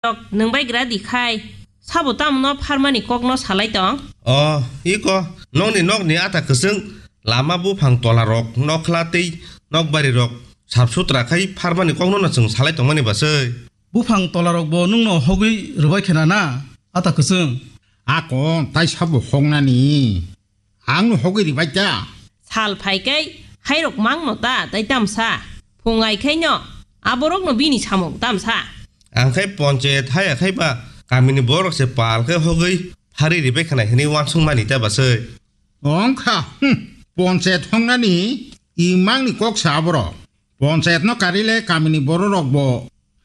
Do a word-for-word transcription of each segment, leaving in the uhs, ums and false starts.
rok nwng bai gra di khai. Sabo tamo no pharmani kok no salai tong? O, iko, nokni nokni ata kwchwng, lama buphang tola rok, nokhla tei nokbari rok sap sutra khai pharmani kok no no chwng salai tongmani bwsai. Buphang tola rok bo nwng no hogwi rwbai khe na na, ata kwchwng? Ako tai sabo hoknani. Ang no hogwi ribai ta. Sal phai kai hai rok mang no ta tai tamsa. Phung ai khai no aborok no bini samung tamsa. Ang khai ponchayat haya khai ba kamini borok se pal khai hogwi phari ribai khanai hinwi wansung mani ta bwsai. Ong kha, hmm, ponchayat hoknani imang ni kok sa aborok. Ponchayat no karile kamini borok rok bo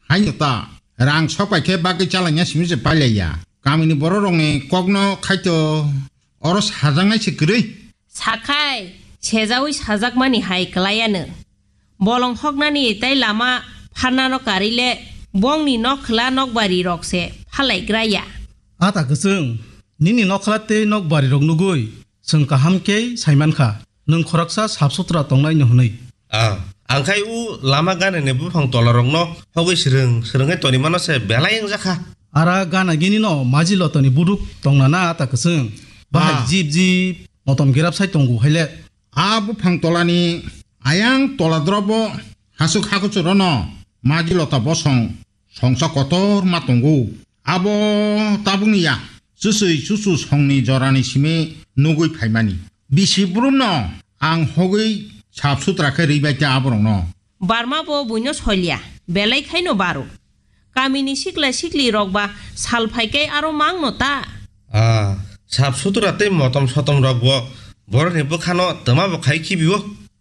haino ta rang sok pai khe bagwi chalangya simi se pailaiya. Kamini borok rokni kokno khaito oro sajaknai se kwrwi. Sakhai sejaui sajakmani hai kwlaiya no. Bolong hoknani tei lama pharnano karile bongni nokhwla nokbari rok se phalaigraya. Ata kwchwng, nini nokhwla tei nokbari rok nugui chwng kaham khe saimankha, nwng khoroksa sap sutra tongnai no hwnwi. Ah, ang khai u lama ganani buphang tola rokno hogwi swrwng swrwngwi toni mano se belai wngjakha. Ara gana gini no maji lotoni buduk tongna na ata kwchwng. Bahai Ah. Jip jip motom girap sai tongo haile. A buphang tolani ayang tola drobo hasuk hakuchuro no maji lota bosong songsa kotor ma tongo. Abo tabukni ya, chusui chuchu songni jorani simi nugui phaimani. Bisi brumno ang hogwi sap sutra khe ribai ta aborokno. Barma bo buino soilya, belai khaino baro. Kamini sikla sikli rok ba sal phai kai aro mang no ta. Ah, sap sutra tei motom sotom rok bo borokni bwkhano twma bo khai khibio.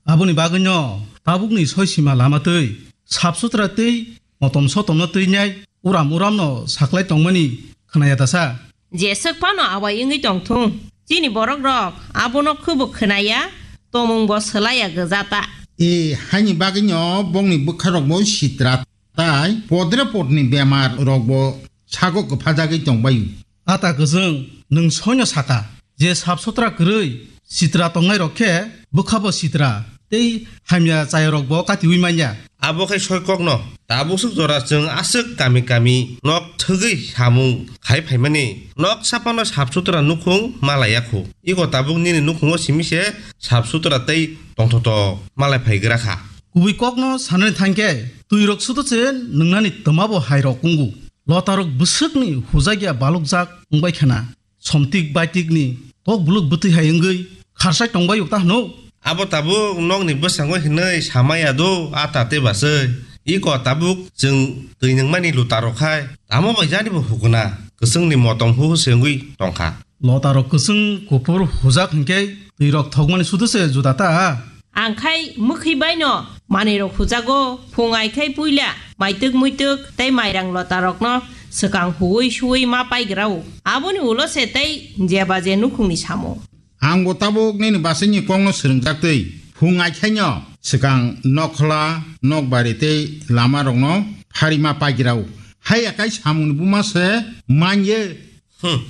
Aboni bagwino tabukni soi sima lama twi sap sutra tei motom sotomno twi nai uram uramno saklai tongmani khwnaya dasa. Jeswk phano awai wngwi tongthung. Chini borok rok abono khubo khwnaya, tomung bo swlaiya gwja ta. E, haini bagwino bongni bwkha rok bo sitra tai podre podni bemar rok bo sago kwphajagwi tongbaio. Ata kwchwng, nwng soino saka, je sap sutra kwrwi, sitra tongnai rok khe bwkha bo sitra, tei hamya chaya rok bo katiui manya. Abo khe soi kokno, tabuk swk jora chwng aswk kami kami nok thwgwi samung khai phaimani, nok saphano sap sutra nukhung malai yakhu. Iko tabuk nini nukhungo simi se sap sutra tei tongthoto malai phai gra kha. Kubui kokno sanani thangkhe, twi rok sudo se nwngnani twma bo hai rok wngu. Lota rok bwswkni hujakya balukjak wngbai khana. Somtik baitikni tok buluk bwtwi hai wngwi kharsai tongbai uk ta hwno. Abo tabuk nokni bwskango hinwi samaya do a tate baswi. Iko tabuk chwng twi nungmani luta rok khai tamo bai jani bo hukuna kwchwngni motom huhu se wngwi tongkha. Lota rok kwchwng kuphur hujak hinkhe twi rok thokmani sudu se juda ta. Ang khai mwkhwi baino manwi rok hujago, phung ai khai puila maitwk muitwk tei mairang lota rokno swkang huwi suwi ma paigrao. Aboni ulo se tei jeba je nukhungni samung. Ang bo tabuk nini basaini kokno swrwngjak twi phung ai khaino swkang nokhla, nokbari tei lama rokno phari ma paigrao. Haiya kai samungni buma se manye. Hmm.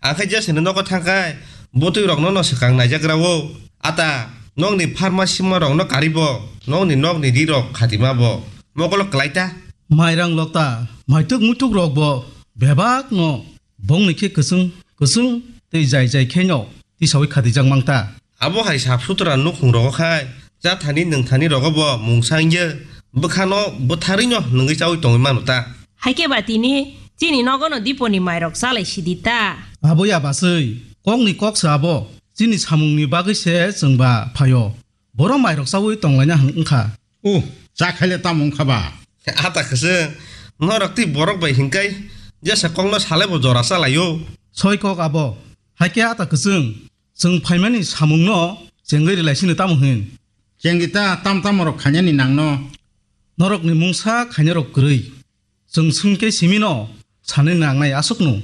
Ang khe jesini nogo thangkhai, bwtwi rokno no swkang naijakrao. Ata, nokni pharma sima rokno karibo, nokni nokni ri rok khatima bo. Mokolo kwlai ta. Mairang lokta, maituk muituk rok bo bebak no bongni khe kwchwng, kwchwng tei jai jai khe no tisawi khatijak mang ta. Abo hai sap sutra nukhung rogo khai, chathani nwngthani rogo bo mungsa wngya, bwkhano bwtharwi no nungwi chawi tongwi mano ta. Haikhe ba tini chini nogono diponi mairok chalai sidi ta. Abo ya baswi, kokni kok se abo, chini samungni bagwi se chwng ba phaio. Boro mairok chawi tonglaina hwn wngkha. Uh, cha khaile tamo wngkha ba? Ata kwchwng, norok tei borok bai hinkai jesa kokno salai bo jora chalaio. Soi kok abo, haikhe ata kwchwng, chwng phaimani samungno chengwi rwlai sino tamo hwn? Chengdi ta tam tamo rok khainani nangno. Norokni mungsa khainarok kwrwi. Chwng swngkhe simino sanwi nangnai aswkno.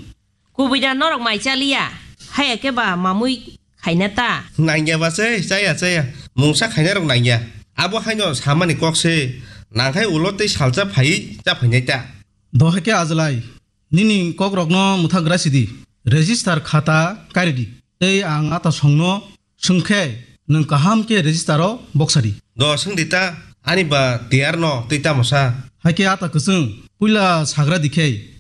Kubui da norok mai chaliya, haiya khe ba mamui khaina ta. Nangya ba se, chaya, chaya. Mungsa khainarok nangya. Abo haino samani kok se. Nangkhai ulo tei salsa phaiwi cha phainai ta. Dohai khe ajlai, nini kokrokno mwthagra sidi. Register khata karidi. Tei ang ata songno swngkhe, nwng kaham khe register o boksadi. Do swngdi ta, ani ba tiyar no tei tamo sa? Haikhe ata kwchwng, puila sagra dikhei,